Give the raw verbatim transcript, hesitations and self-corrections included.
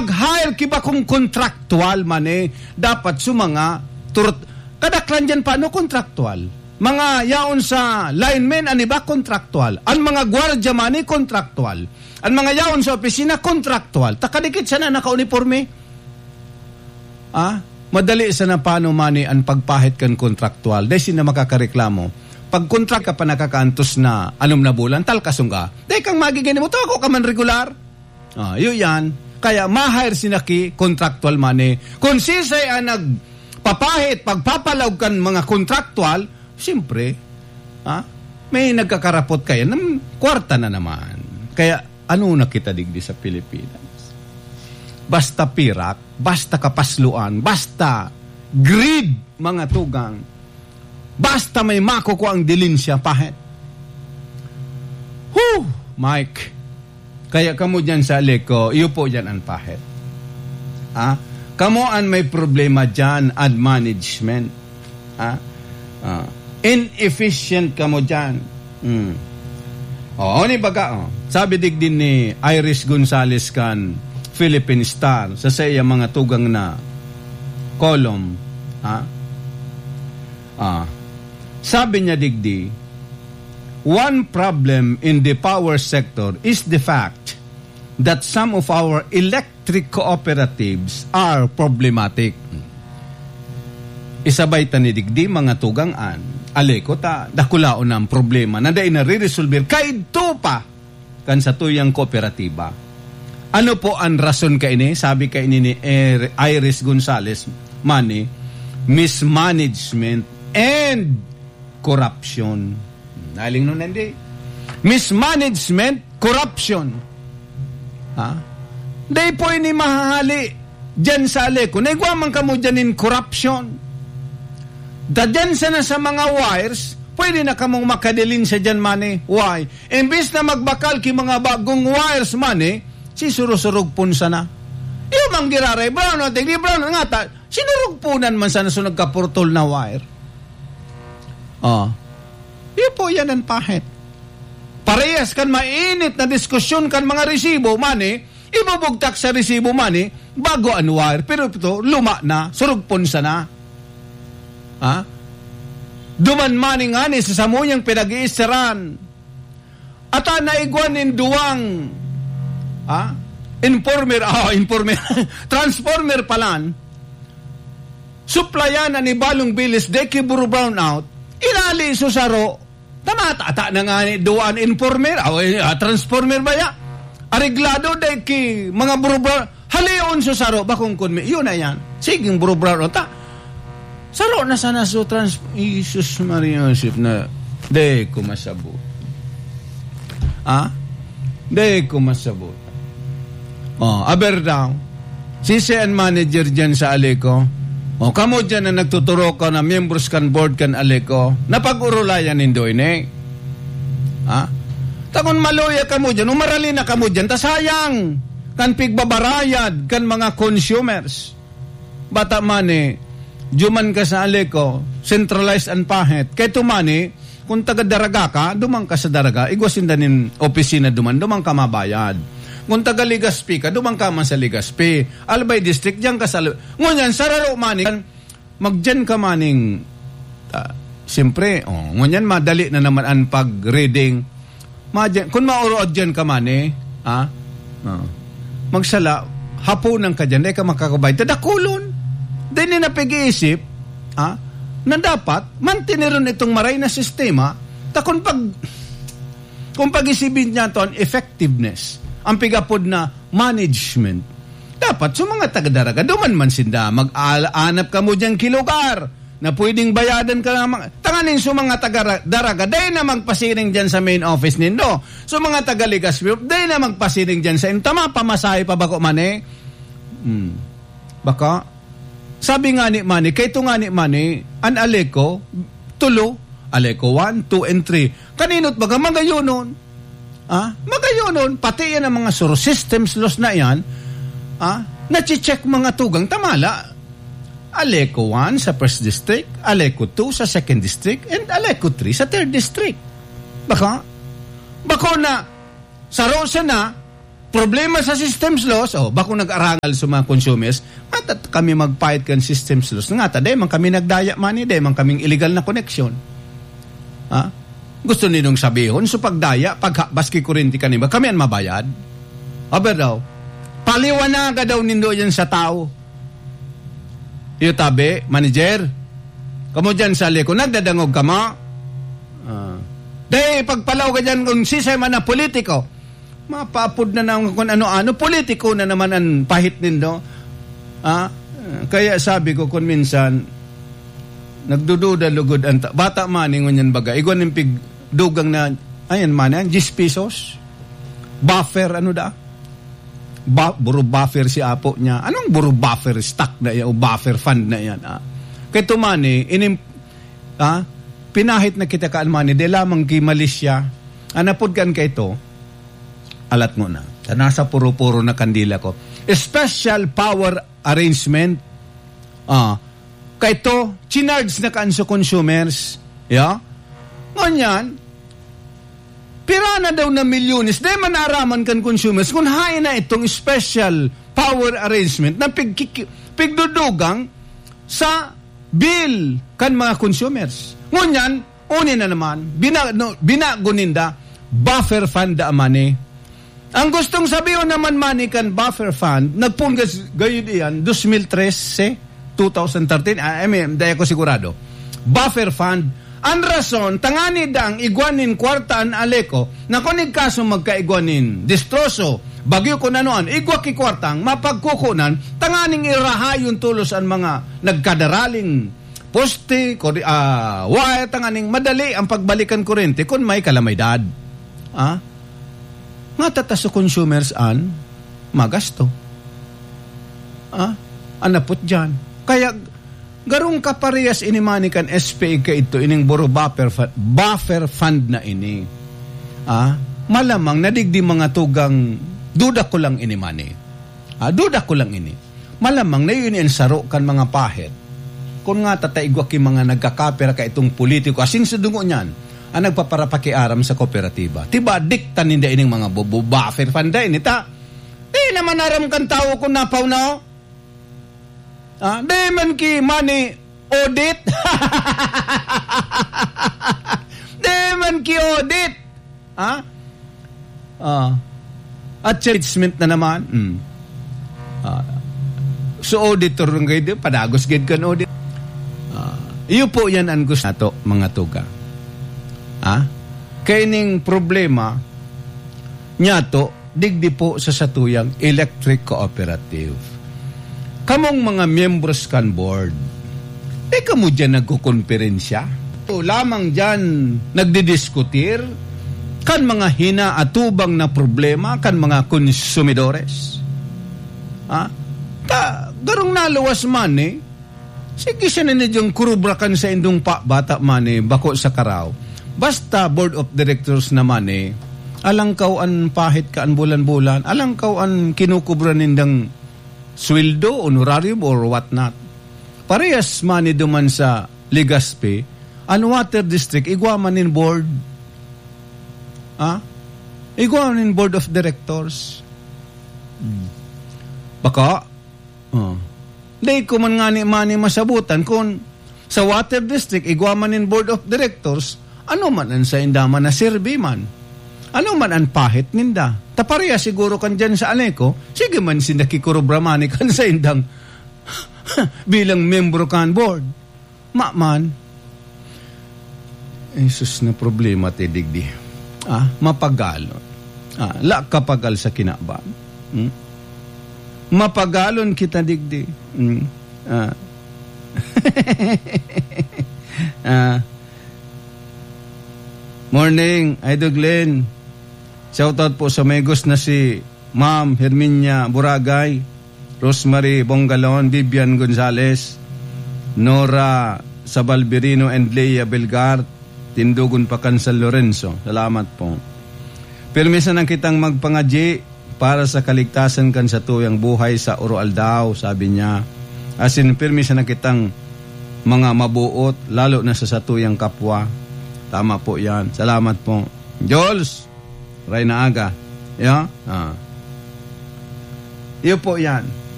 Mag-hire ki bakong kontraktual man, eh, dapat sa mga turut-, kadaklan diyan pa, ano, kontraktual. Mga yaon sa linemen, an iba kontraktual. An mga gwardya man, eh, kontraktual. An mga yaon sa opisina, kontraktual. Ta kadikit sana naka-uniporme. Ah, madali sana paano man, eh, an pagpahit kan kontraktual. Dai sinda makakareklamo. Pag kontrak ka pa nakakaantos na anom na bulan, talkasong ka. Dai kang magiging mo, ako ka man regular. Ah, yun yan. Kaya ma-hire sinda ki contractual man, eh. Kung sisay ang nagpapahit, pagpapalaog kan mga contractual, siyempre, ah, may nagkakarapot kaya ng kwarta na naman. Kaya ano na kita digdi sa Pilipinas? Basta pirak, basta kapasluan, basta greed, mga tugang, basta may makukuha ang dilin siya, pahit. Whew, Mike. Kaya kamo dyan sa Aleco, iyo po dyan ang pahit. Ah? Kamo ang may problema dyan, ad management. Ah? Ah. Inefficient kamo dyan. Hmm. Oh, ni baga, oh. Sabi digdi ni Iris Gonzalez kan Philippine Star sa, sa iya mga tugang na column, ah? Ah. Sabi niya digdi, "One problem in the power sector is the fact that some of our electric cooperatives are problematic." Isabay ta ni digdi, mga tugang, an Aleco ta, dakulaon na ang problema na dai nare-resolver. Kaidto pa kan satuyang kooperatiba. Ano po ang rason kaini? Sabi kaini ni Er-, Iris Gonzalez, mani, mismanagement and corruption. Naling nun, hindi. Mismanagement, corruption. Ha? Dai po ini mahahali dyan sa Aleco. Naigwa man kamo dyan in corruption. Da dyan sana sa mga wires, pwede na kamong makadilin sa dyan, mani. Why? Imbis na magbakal ki mga bagong wires, mani, si surog-surog pon sana. Iyo mang giraray, brown, o, tigdi brown, nga ta, sinurugpunan man sana so nagkapurtol na wire. Oh. Iyo po yan ang pahit. Parehas kan mainit na diskusyon kan mga resibo, mani, ibubugtak sa resibo, mani, bago ang wire. Pero ito, luma na, surugpon sana. Ha? Duman mani ngani sa samuyang pinag-iisteran. Ata naigwa nin duwang, ha? Informer, ah, informer. Transformer palan. Suplayan an ibalong bilis, dai ki buro brownout. Inali so saro. Tama, tata na nga ni duwang informer. Aw, eh, ah, transformer ba ya? Areglado, dai ki mga buro brown. Halion so saro, bakong kun mi-, yun na yan. Siging buro brown, ta. Saro na sana so trans-, Jesus Maria Joseph na, dai ko masabot. Ha? Dai ko masabot. Oh, aber daw. Sisay an manager dyan sa Aleco? Oh, kamo dyan na nagtuturo ka na miyembros kan board kan Aleco, napag-urulayan nindo ini? Ha? Ta kun maluya kamo dyan, umarali na kamo dyan, ta sayang kan pigbabarayad kan mga consumers. Bata man eh, duman ka sa Aleco, centralized an pahit. Kaya tumani, kung taga Daraga ka, duman ka sa Daraga, igwa sinda nin opisina duman, duman ka mabayad. Kung taga Legazpi ka, duman ka man sa Legazpi. Albay District, diyan ka sa Al-, ngunyan, sararo man eh, magdiyan ka maning, ah, siyempre, oh, ngunyan madali na naman ang pag-reading. Madyan, kun maorood diyan ka man eh, ha? Oh. Magsala, haponan ka diyan, dai ka makakabayad. Tadakulon. Dai ni napag-iisip, ha? Na dapat, mantineron itong maray na sistema. Ta kun pag, kun pag-isibin niya to, ang effectiveness, ang pigapod na management, dapat sa mga taga-Daraga, duman man sinda, mag-aanap kamo diyan ki lugar na pwedeng bayadan ka lamang. Tanganing sa mga taga-Daraga, dai na magpasiring diyan sa main office nindo. Sa mga taga-Legazpi, dai na magpasiring diyan sa inyo. Ta mapamasahe pa bako man eh. Hmm. Baka, sabi nga ni Manny, kay ito nga ni Manny, an Aleco, tulo, Aleco one, two, and three. Kaninot baga, magayonon. Ah, magayonon, pati yan ang mga suro systems laws na yan, ah, nache-check mga tugang tamala. Aleco one sa first district, Aleco two sa second district, and Aleco three sa third district. Baka, bako na, saro sana, problema sa systems laws, oh, bako nag-arangal sa mga consumers, at, at kami magpahit kan systems laws. Nga ta, dai man kami nagdaya man, eh, dai man kaming illegal na connection. Ha? Gusto ninong sabihon, so pagdaya, paghabas ki kurente kanima, kami an mabayad? Aber daw, paliwanaga daw nindo yan sa tao. Iyo tabi, manager. Kamo dyan sa liko, nagdadangog kamo? Ah. Dai, pagpalaw ka dyan kung sisay man na politiko. Mapaapod na naman kung ano-ano. Politiko na naman ang pahit nindo. Ah? Kaya sabi ko, kung minsan, nagdududa lugod ang ta-, bata man, ingon yan baga. Igwa ning pigdugang na, ayan man, yan, diyes pesos. Buffer, ano da? Ba-, buro buffer si apo niya. Anong buro buffer stock na yan o buffer fund na yan? Ah? Kay tumani, inim-, ah, pinahit na kita kaan mani, di lamang ki Malaysia. Anapod kan kaito, alat mo na. Ta nasa puro-puro na kandila ko. Special power arrangement. Ah, kaito, chinarge na kaan sa consumers. Yeah? Ngunyan, pira na daw na milyones, di man naaraman kan consumers kung hain na itong special power arrangement na pig-, pigdudugang sa bill kan mga consumers. Ngunyan, uni na naman, bina-, no, binago ninda, buffer fund da money. Ang gustong sabihon naman money kan buffer fund, nagpunggas gayud iyan, dos mil trese, two thousand thirteen, ah, I mean, dai ako sigurado. Buffer fund, ang rason, tangani dang igwa nin kwarta an Aleco, na kun igkaso magkaigwa nin distroso, bagyo kun ano an, igwa ki kwartang mapagkukunan, tanganing irahayon tolos an mga nagkadaraling poste, kori-, ah, wire, tanganing madali ang pagbalikan kurente kun may kalamidad. Ah? Nga tata sa consumers an magasto. Ah? Anapot dyan. Kaya, garong kaparehas ini money kan S P A kaito, ining buro buffer fu-, buffer fund na ini. Ah? Malamang nadigdi mga tugang, duda ko lang ini money. Ah, duda ko lang ini. Malamang na yun ang saro kan mga pahit. Kun nga tataigwa ki mga nagkakapira ka itong politiko, asin sa dungo niyan, ang nagpaparapakiaram sa kooperatiba. Tiba, dikta ninda ining mga bu-, bu-, buffer fund da ini, ta? Di naman aram kan tawo kung napaw na, oh. Ah, di man ki money audit. Di man ki audit. Ha? Ah. At judgment na naman. Mm. Ah. So, auditor lang kayo, di? Padagos gid kan audit. Ah. Iyo po yan ang gusto nato, mga tuga. Ha? Kaya ning problema, niyato, digdi po sa satuyang electric cooperative. Kamong mga miyembros kan board, di kamo diyan nagkukonferensya? O lamang diyan nagdidiskutir kan mga hinaatubang na problema kan mga konsumidores? Ha? Ta, garong naluwas man eh. Sige, siya na nidyang kurubrakan sa indong pa, bata man eh, bako sa karaw. Basta board of directors naman eh, alangkaw an pahit ka an bulan-bulan, alangkaw an kinukubra nindang sweldo, honorarium, or what not. Parehas man eh duman sa Legazpi, an water district, igwa man nin board. Ha? Igwa man nin board of directors. Hmm. Baka, Oh. Dai ko man ngani mani masabutan kun sa water district, igwa man nin board of directors, ano man an sainda man na serbi man? Ano man an pahit ninda? Ta pareha siguro kan diyan sa Aleco, sige man sinda kikurubra mani kan saindang bilang membro kan board. Ma man. Jesus, na problema ti digdi. Ah, mapagalon. Ah, la kapagal sa kinaban. Hmm? Mapagalon kita digdi. Hmm? Ah. Ah. Morning, Idol Glenn. Shoutout po sa amigos na si Ma'am Herminia Boragay, Rosemary Bongalon, Vivian Gonzalez, Nora Sabalberino, and Leah Belgar, Tindugon pa kan San Lorenzo. Salamat po. Pirmi sana kitang magpangadyi para sa kaligtasan kan satuyang buhay sa oroaldaw, sabi niya. Asin, pirmi sana kitang mga mabuot, lalo na sa satuyang kapwa. Tama po yan. Salamat po. Jules! Ray na aga. Ya? Ah. Iyo po yan.